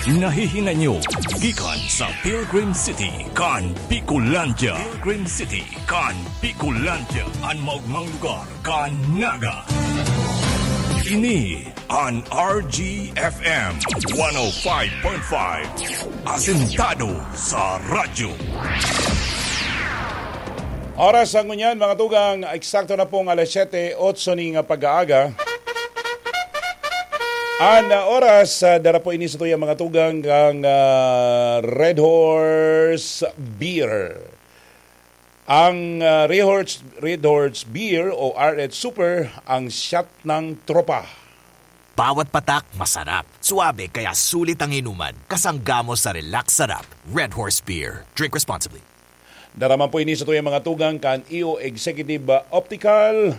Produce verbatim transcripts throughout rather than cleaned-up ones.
Nahihinay nyo gikan sa Pilgrim City kan Bicolandia. Pilgrim City kan Bicolandia, an maogmang lugar kan Naga. Ini an R G F M one oh five point five, asentado sa radyo. Oras sa ngunyan, mga tugang, eksakto na pong alas siyete, otso ning pag-aaga. An, ah, oras, ah, dara po ini sa tuya, mga tugang, kang, ah, Red Horse Beer. Ang, ah, Red Horse, Red Horse Beer o R H Super, ang shot ng tropa. Bawat patak, masarap. Suabe, kaya sulit ang inuman. Kasangga mo sa relax sarap. Red Horse Beer. Drink responsibly. Dara man po ini sa tuyang mga tugang kan E O Executive, ah, Optical.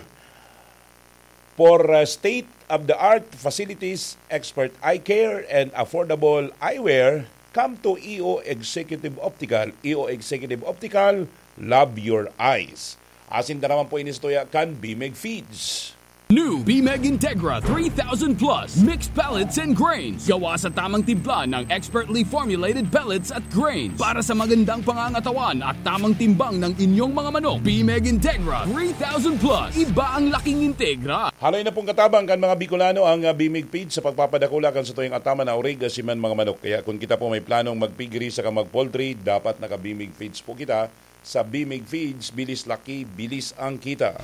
For, ah, state-of-the-art facilities, expert eye care, and affordable eyewear, come to E O Executive Optical. E O Executive Optical, love your eyes. Asin dara man po ini sa tuya kan Bimeg Feeds. New Bimeg Integra three thousand Plus Mixed Pellets and Grains. Gawa sa tamang timpla ng expertly formulated pellets at grains para sa magandang pangangatawan at tamang timbang ng inyong mga manok. Bimeg Integra three thousand Plus. Iba ang laking Integra. Haloy na pong katabang kan mga Bicolano ang, ah, Bimeg Feeds sa pagpapadakula kan satuyang ataman na orig asin man mga manok. Kaya kun kita po may planong mag-piggery saka mag-poultry, dapat naka-Bimeg Feeds po kita. Sa Bimig Feeds, bilis laki, bilis ang kita.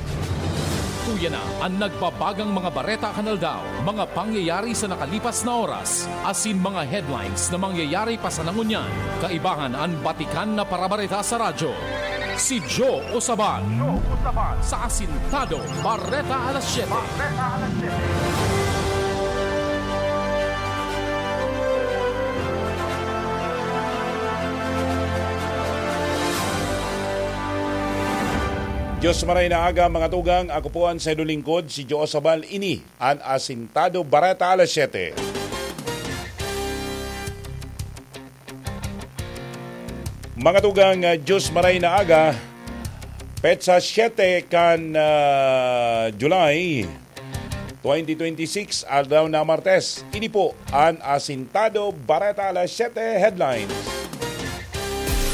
Tuya na an nagbabagang mga bareta kan aldaw, mga pangyayari sa nakalipas na oras, asin mga headlines na mangyayari pa sana ngunyan. Kaibahan an batikan na parabareta sa radyo. Si Joe Osaban. Sa Asintado Bareta Alas Siyete. Diyos maray na aga, mga tugang. Ako po an saindong lingkod, si Joe Sabal. Ini an Asintado Bareta Alas Siyete. Mga tugang, ah, Diyos maray na aga, petsa siyete kan, ah, July, twenty twenty-six, aldaw na Martes. Ini po an Asintado Bareta Alas Siyete Headlines.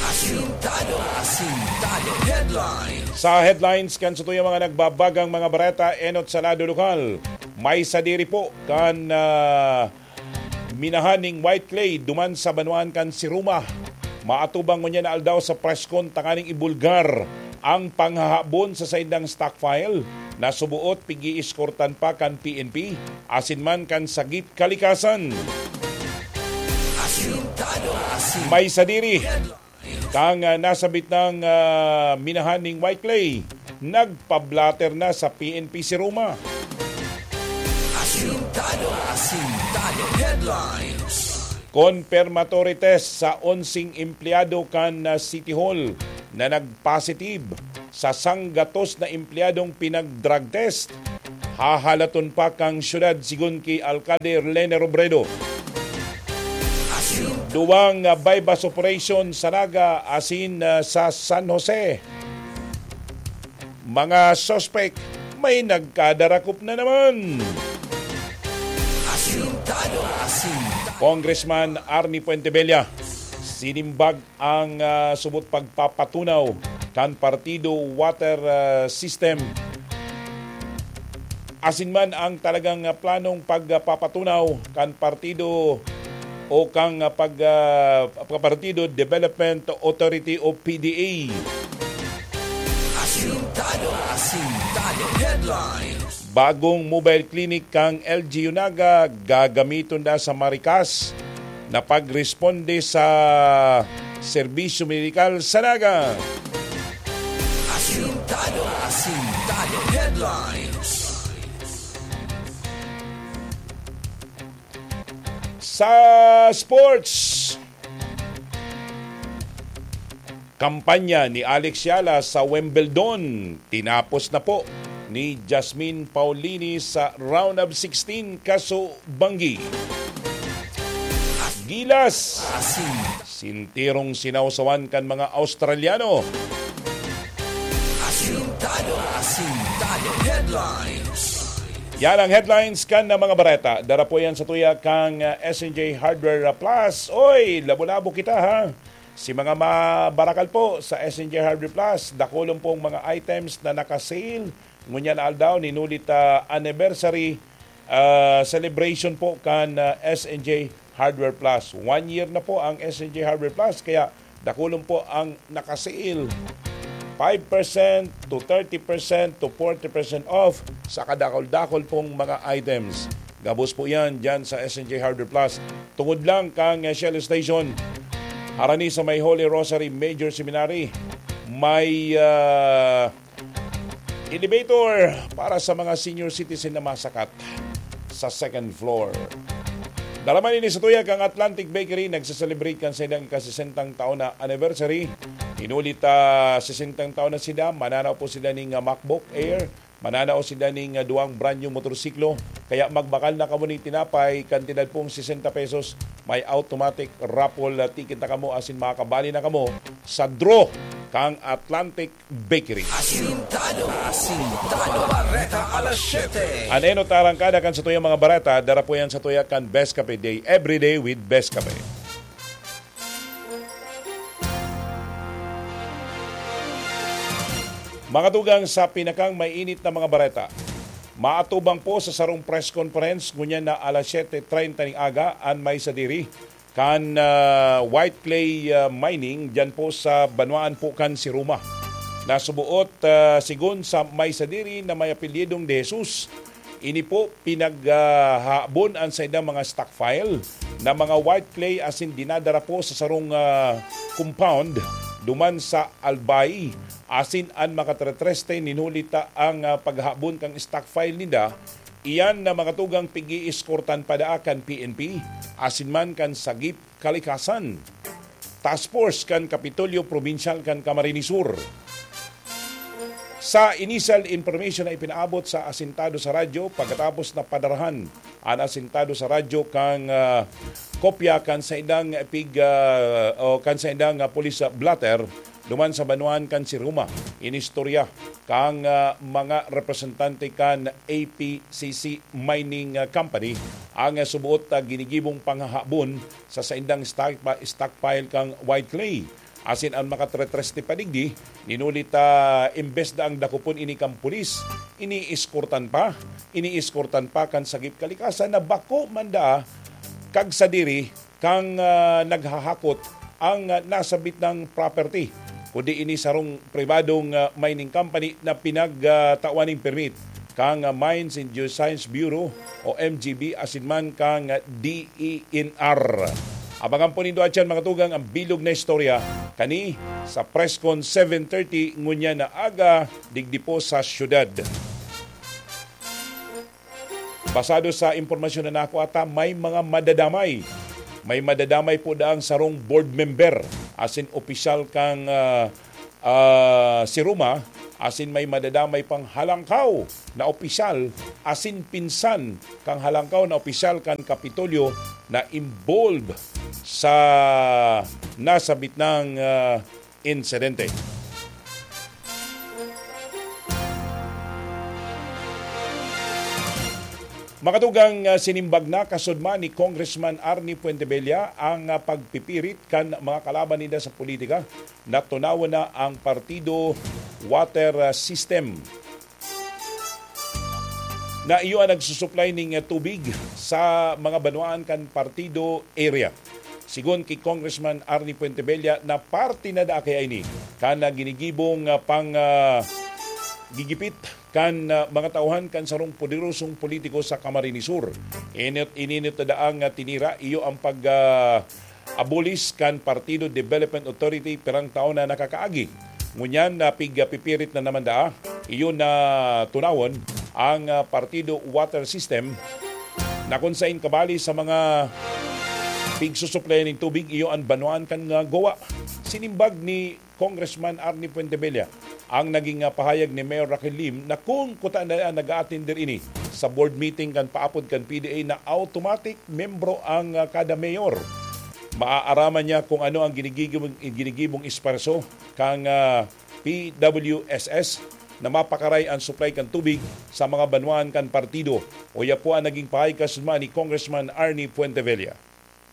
Asintado, Asintado Headlines. Sa headlines kan satuyang mga nagbabagang mga bareta, enot sa lado lokal. May sadiri po kan, ah, minahan ning white clay duman sa banwaan kan Siruma. Maatubang ngunyan na aldaw sa preskon tanganing ibulgar ang panghahabon sa saindang stockpile na suboot pig-iiskortan pa kan P N P asin man kan Sagip Kalikasan. Asintado, Asintado. May sadiri. Kan, ah, nasabit nang, ah, minahan ning white clay, nagpa-blotter na sa P N P si Roma. Asintado, Asintado Headlines. Confirmatory test sa onseng empleyado kan, ah, City Hall na nag-positive sa sanggatos na empleyadong pinag-drug test. Hahalaton pa kan syudad, sigon ki Alkalde Lene Robredo. Duwang, ah, buy-bust operation sa Naga asin, ah, sa San Jose. Mga suspek, may nagkadarakop na naman. Asintado, Asintado. Congressman Arnie Fuentebella, sinimbag ang, ah, subot pagpapatunaw kan partido water, ah, system. Asin man ang talagang, ah, planong pagpapatunaw kan partido o kan, ah, pag, ah, partido Development Authority o P D A. Asintado, Asintado Headlines. Bagong mobile clinic kan L G U Naga gagamiton na sa Maricas na pagresponde sa serbisyo medikal sa Naga. Asintado, Asintado Headlines. Sa sports, kampanya ni Alex Yala sa Wimbledon, tinapos na po ni Jasmine Paolini sa round of sixteen, kaso banggi. Gilas, sintirong sinawsawan kan mga Australiano. Asintado, Asintado Headlines. Yan ang headlines kan na mga bareta. Dara po yan sa tuya kang, ah, S N J Hardware Plus. Oy, labo-labo kita, ha. Si mga mabarakal po sa S N J Hardware Plus, dakulon pong mga items na naka-sale. Ngunyan na aldaw, ninulit, ah, anniversary, ah, celebration po kan, ah, S N J Hardware Plus. One year na po ang S N J Hardware Plus, kaya dakulon po ang naka-sale. Five percent to thirty percent to forty percent off sa kadakol-dakol pong mga items. Gabos po yan dyan sa S N J Hardware Plus. Tungod lang kang, eh, Shell Station, harani sa may Holy Rosary Major Seminary, may, ah, elevator para sa mga senior citizen na masakat sa second floor. Dalaman ini sa tuyag ang Atlantic Bakery, nagsaselebrate kan saindang ikasesentang taon na anniversary. Inulit, ah, sesentang taon na sila, mananaw po sila ning, ah, MacBook Air, mananaw sila ning, ah, duwang brand new motorsiklo. Kaya magbakal na kamo ning tinapay, kantidad pong sesenta pesos, may automatic raffle, ah, ticket na kamo, asin makakabali na kamo sa draw kang Atlantic Bakery. Asintado, asintado, bareta alas siyete. An enot na arangkada kan satuyang mga bareta, dara po yan sa tuya kan Best Cafe Day, every day with Best Cafe. Mga tugang sa pinakang mainit na mga bareta, maatubang po sa sarong press conference ngunyan na alas siyete treinta ning aga an may sadiri kan, ah, white clay, ah, mining diyan po sa banwaan po kan Siruma. Nasubuot, ah, sigon sa may sadiri na may apelyidong De Jesus, ini po pinaghahabon an saindang mga stockpile na mga white clay asin dinadara po sa sarong, ah, compound duman sa Albay asin an Makatretreste. Ninulita ang, ah, paghahabon kan stockpile ninda. Iyan na mga tugang pig-iiskortan pa daa kan P N P asin man kan Sagip Kalikasan Task Force kan Kapitolyo Probinsyal kan Camarines Sur. Sa initial information na ipinaabot sa asintado sa radyo, pagkatapos na padarahan an asintado sa radyo kang, ah, kopya kan saindang pig, ah, o kan saindang, ah, police, ah, blotter, duman sa banwaan kan Siruma, inistorya kang, ah, mga representante kan A P C C Mining, ah, Company ang, ah, subuot, ah, ginigibong panghahabon sa saindang stock-, stockpile kang white clay. Asin an Makatretreste pa digdi, ninulita, imbes na ang dakopon ini kan pulis, iniiskortan pa, iniiskortan pa kan Sagip Kalikasan na bako man daa kagsadiri kang, ah, naghahakot ang, ah, nasabit nang property, kundi ini sarong pribadong, ah, mining company na pinagtawan ning permit kang, ah, Mines and Geoscience Bureau o M G B asin man kang, ah, D E N R. Abangan po nindo atyan, mga tugang, ang bilog na istorya kani sa Presscon seven thirty ngunyan na aga digdi po sa syudad. Basado sa impormasyon na nakuha ta, may mga madadamay. May madadamay po daang sarong board member asin opisyal kang, ah, ah, Siruma, asin may madadamay pang halangkaw na opisyal asin pinsan kang halangkaw na opisyal kan Kapitolyo na involved sa nasabit nang, ah, insidente. Mga tugang, ah, sinimbag na kasudman ni Congressman Arnie Fuentebella ang, ah, pagpipirit kan mga kalaban ninda sa politika na tunawon na ang partido water, ah, system na iyo ang nagsusuplay ning, ah, tubig sa mga banwaan kan partido area. Sigon ki Congressman Arnie Fuentebella na parte na daa kaya ini kan, ah, ginigibong, ah, pang, ah, gigipit kan, ah, mga tauhan kan sarong poderosong politiko sa Camarines Sur. Init, ininit na daang, ah, tinira iyo ang pag, ah, abolis kan Partido Development Authority pirang taon na nakakaagi. Ngunyan na pig, ah, pipirit na naman daa, iyo na tunawon ang, ah, Partido Water System na kun sain kabali sa mga pigsusuplayan nin tubig, iyo an banwaan kan, ah, Goa. Sinimbag ni Congressman Arnie Fuentebella ang naging, ah, pahayag ni Mayor Raquel Lim na kun kuta na nag-a-attender ini sa board meeting kan paapod kan P D A na automatic membro ang, ah, kada mayor. Maaaraman niya kung ano ang ginigigibong, ginigibong esparso kang, ah, P W S S na mapakaray an supply kan tubig sa mga banwaan kan partido. Uya po ang naging pahayag kasunod ni Congressman Arnie Fuentevella.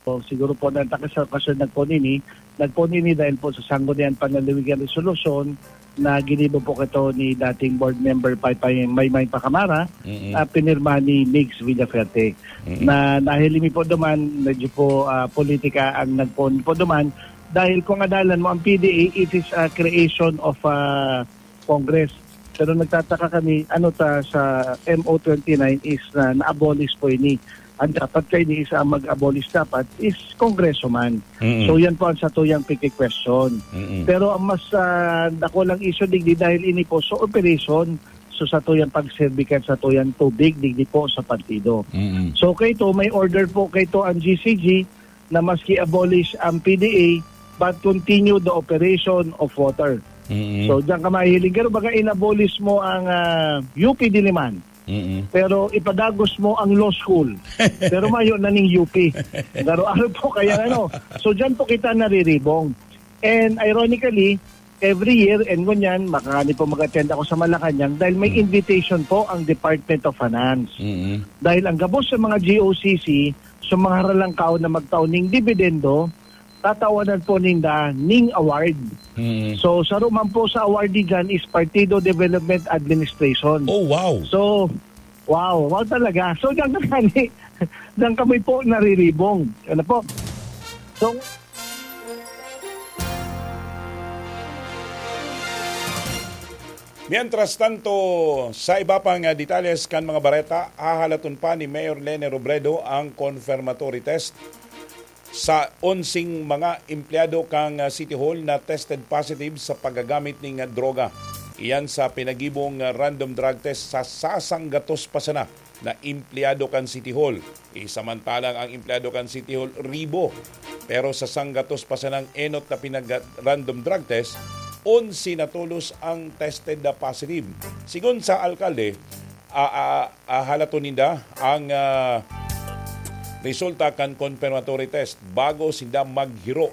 So, siguro po, nagtaka sa okasyon na po nini, nagpo nini dahil po sa Sangguniang Panlalawigan Resolusyon na ginibo po kaito ni dating board member Paypay Maymay Pacamara, Mm-mm. na pinirma ni Migs Villafuerte. Mm-mm. Na nahilimi po duman, medyo po, ah, politika ang nagpoon po duman. Dahil kung adalan mo, ang P D A, it is a creation of, ah, Congress. Pero nagtataka kami, ano ta sa M O twenty-nine is na na-abolish po ini. Ang dapat kaini is ang mag-abolish dapat is Kongreso man. Mm-mm. So, yan po ang satuyang piki-question. Mm-mm. Pero ang mas, ah, dakulang issue digdi dahil ini po sa operation, so satuyang pagserbi kan satuyang tubig digdi po sa partido. Mm-mm. So, kaito, may order po kaito ang G C G na maski abolish ang P D A, but continue the operation of water. Mm-mm. So, diyan ka mahihiling. Pero baga in-abolish mo ang, ah, U P Diliman. Mm-mm. Pero ipadagos mo ang law school. Pero mayo na ning U P. Garo-aro po kaya ano. So, diyan po kita nariribong. And ironically, every year, and ngunyan, makakani po mag-attend ako sa Malacanang dahil may Mm. invitation po ang Department of Finance. Mm-mm. Dahil ang gabos sa mga G O C C, sa mga haralangkaw na magtao ning dividendo, tatawanan po ninda ning award. Mm. So, saro man po sa awardee dyan is Partido Development Administration. Oh, wow. So, wow, wow talaga. So, diyan ka gani, diyan kami po nariribong. Ano po? So, Mientras tanto, sa iba pang, ah, detalles kan mga bareta, hahalaton pa ni Mayor Lene Robredo ang confirmatory test sa onseng mga empleyado kan, ah, City Hall na tested positive sa paggagamit nin, ah, droga. Iyan sa pinagibong, ah, random drug test sa sasanggatos pa sana na empleyado kan City Hall. Isamantalang ang empleyado kan City Hall, ribo. Pero sa sanggatos pa sanang enot na pinag-random drug test, onse na tolos ang tested na positive. Sigon sa alkalde, a-, a-, ahalaton ninda ang, ah, resulta kan confirmatory test bago sinda maghiro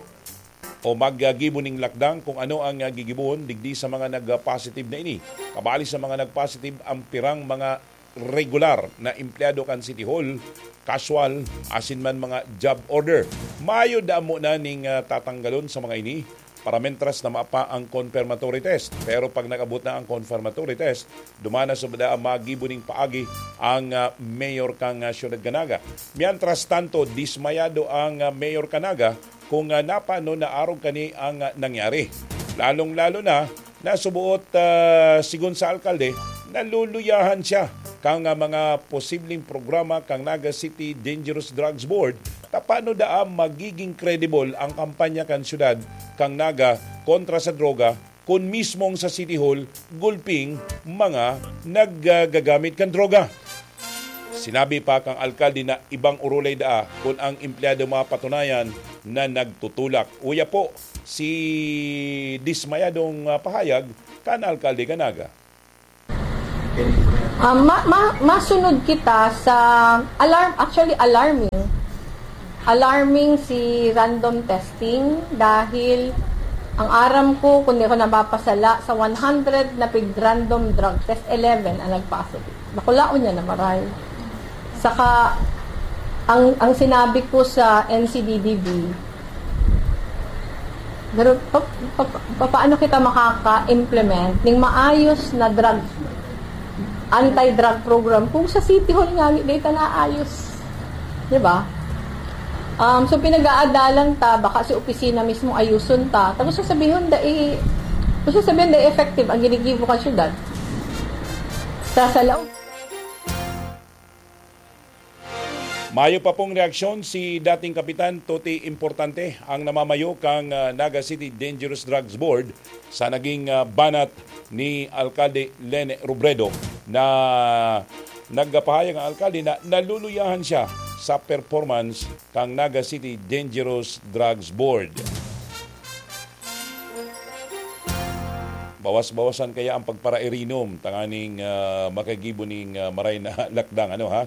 o maggibo ning lakdang kung ano ang, ah, gigibohon digdi sa mga nag-positive na ini. Kabali sa mga nag-positive ang pirang mga regular na empleyado kan City Hall, casual, asin man mga job order. Mayo damo na ning, ah, tatanggalon sa mga ini para mentras na mapa ang confirmatory test. Pero pag nag-abot na ang confirmatory test, duman na subda ang magibo ning paagi ang, ah, mayor kan, ah, siyudad kan Naga. Mientras tanto, dismayado ang, ah, mayor kan Naga kung, ah, napano na arog kani ang, ah, nangyari. Lalong-lalo na, nasubuot, ah, sigon sa alkalde, naluluyahan siya kan, ah, mga posibleng programa kan Naga City Dangerous Drugs Board, ta paano daa magiging credible ang kampanya kan syudad kan Naga kontra sa droga kun mismong sa City Hall gulping mga naggagamit kan droga. Sinabi pa kan alkalde na ibang orolay daa kun ang empleyado mapatunayan na nagtutulak. Uya po, si dismayadong, ah, pahayag kan alkalde kan Naga. Ah, ma-, ma-, masunod kita sa alarm, actually alarming. Alarming si random testing dahil ang aram ko, kung di ako nabapasala, sa one hundred na pig-random drug test, eleven ang nag-positive. Bakulaon niya na maray. Saka, ang, ang sinabi ko sa N C D D B, pero pa, pa, pa, paano kita makaka-implement ning maayos na drug, anti-drug program kung sa City Hall nga, di ta naayos? Di ba? Um, so, pinag-aadalan ta, baka si opisina mismo ayuson ta. Tapos sasabihin, dai, tapos sasabihin, dai effective ang ginigibo kan syudad. Sa, sa laog. Mayo pa pong reaksyon si dating Kapitan Toti Importante, ang namamayo kan, ah, Naga City Dangerous Drugs Board, sa naging, ah, banat ni Alkalde Lene Robredo, na nagpahayag ang alkalde na naluluyahan siya sa performance kan Naga City Dangerous Drugs Board. Bawas-bawasan kaya ang pagparairinom tanganing, ah, makagibo ning, ah, maray na lakdang, ano, ha?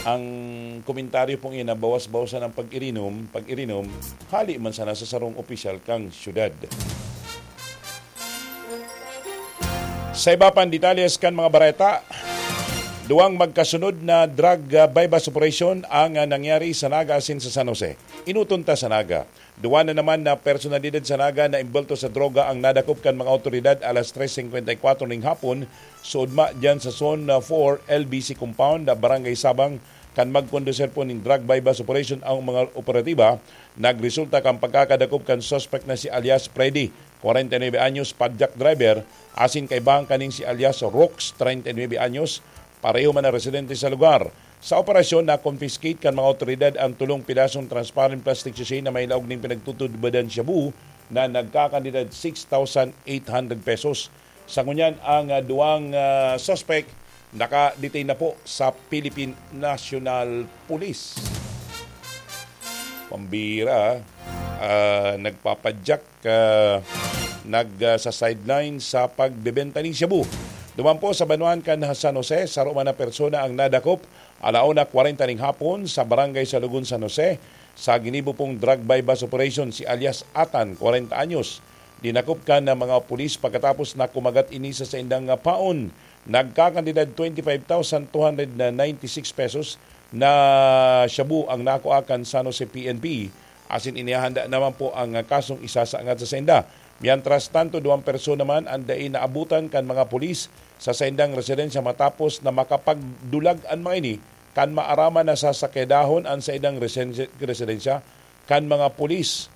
Ang komentaryo pong iyan na bawas-bawasan ang pag-irinom, pag-irinom, hali man sana sa sarong opisyal kang syudad. Sa iba pang detalles kan mga bareta, duwang magkasunod na drug, ah, buy-bust operation ang, ah, nangyari sa Naga asin sa San Jose. Inuton ta sa Naga. Duwa na naman na personalidad sa Naga na imbwelto sa droga ang nadakop kan mga awtoridad alas tres singkwenta y kwatro ning hapon, suodma diyan sa Zone four L B C Compound, Barangay Sabang, kan magkondusir po nin drug buy-bust operation ang mga operatiba. Nagresulta kan pagkakadakop kan suspek na si alias Freddy, kwarenta y nuebe anyos, padjak driver, asin kaibahan kaning si alias Rox, treinta y nuebe anyos, pareho man na residente sa lugar. Sa operasyon, na-confiscate kan mga awtoridad ang tolong pidasong transparent plastic sachet na may laog nin pinagtutudbadan shabu na nagkakantidad six thousand eight hundred pesos. Sa ngunyan, ang, ah, duwang, ah, suspek naka-detain na po sa Philippine National Police. Pambira, ah, nagpapadyak, ah, nag, ah, sa sideline sa pagbebenta nin shabu. Duman po sa banwaan kan San Jose, saro man na persona ang nadakop, alauna kwarenta ning hapon, sa barangay Salugon, San Jose. Sa ginibo pong drug buy-bust operation, si alias Atan, kwarenta anyos, dinakop kan mga pulis pagkatapos na kumagat ini sa saindang, ah, paon. Nagkakantidad twenty-five thousand two hundred ninety-six pesos na shabu ang nakua kan San Jose P N P, asin inihahanda naman po ang kasong isasaangat sa sainda. Mientras tanto, duwang persona man an dai naabutan kan mga pulis sa saindang residensya matapos na makapagdulag an mga ini kan maaraman na sasakedahon an saindang resense-, residensya kan mga pulis,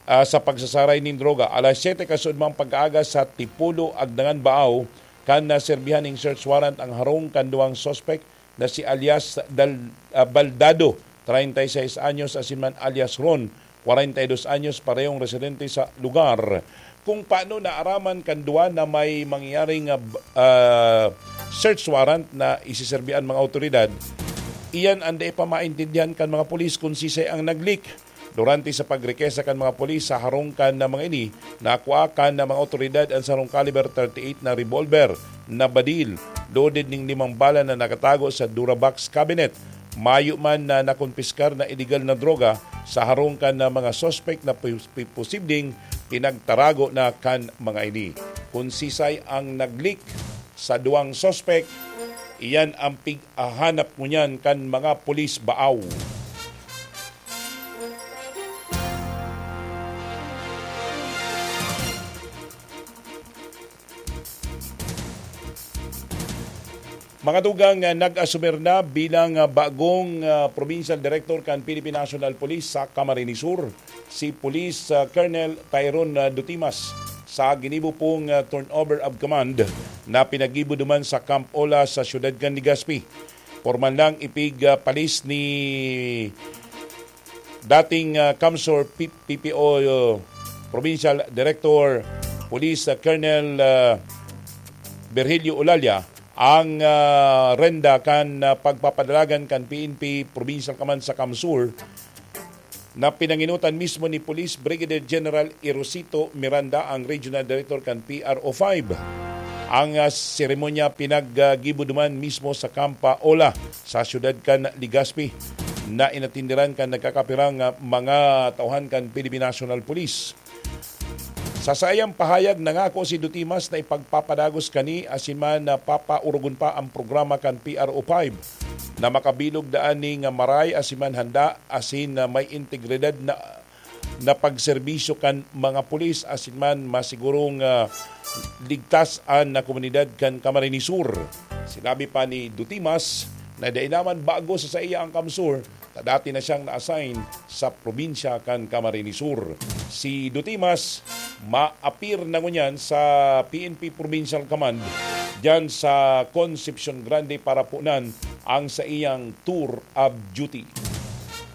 ah, sa pagsasaray nin droga. Alas siyete kasuodmang pag-aaga sa Tipolo, Agdangan, Baao, kan naserbihan ning search warrant ang harong kan duwang suspek na si alias Dal-, ah, Baldado, treinta y seis anyos, asin man alias Ron, kwarenta y dos anyos, parehong residente sa lugar. Kung paano naaraman kan duwa na may mangyaring, ah, b-, ah, search warrant na isiserbi an mga awtoridad, iyan an dai pa maintindihan kan mga pulis kung sisay ang nag-leak. Durante sa pagrekesa kan mga pulis sa harong kan na mga ini, nakua kan na mga awtoridad an sarong caliber thirty-eight na revolver na badil, loaded ning limang bala na nakatago sa Durabox cabinet. Mayo man na nakonpiskar na iligal na droga sa harong kan na mga suspek na pos-, pi-, posibleng pinagtarago na kan mga ini. Kung sisay ang nag-leak sa duwang suspek, iyan ang pig-ahanap ngunyan kan mga pulis Baao. Mga tugang, ah, nag-asumir na bilang, ah, bagong, ah, provincial director kan Philippine National Police sa Camarines Sur, si Police, ah, Colonel Tyrone, ah, Dutimas, sa ginibo pong, ah, turnover of command na pinaggibo duman sa Camp Ola sa siyudad kan Legazpi. Pormal nang ipig, ah, palis ni dating, ah, CamSur P-, P P O, uh, Provincial Director Police, ah, Colonel, ah, Virgilio Olalia ang, ah, renda kan, ah, pagpapadalagan kan P N P Provincial Command sa CamSur na pinangenotan mismo ni Police Brigadier General Erosito Miranda, ang Regional Director kan P R O five. Ang, ah, seremonya pinaggibo duman mismo sa Camp Ola sa siyudad kan Legazpi na inatindiran kan nagkakapirang, ah, mga tauhan kan Philippine National Police. Sa saiyang pahayag, nangako si Dutimas na ipagpapadagos kani asin man na papaurugon pa ang programa kan P R O five na makabilog daan ning maray asin man handa asin na may integridad na, na pagserbisyo kan mga pulis asin man masigurong, ah, ligtas an komunidad kan Camarines Sur. Sinabi pa ni Dutimas na dai naman bago sa saiya ang CamSur, ta dati na siyang na-assign sa probinsya kan Camarines Sur. Si Dutimas maapir na ngunyan sa P N P Provincial Command diyan sa Concepcion Grande para punan ang saiyang tour of duty.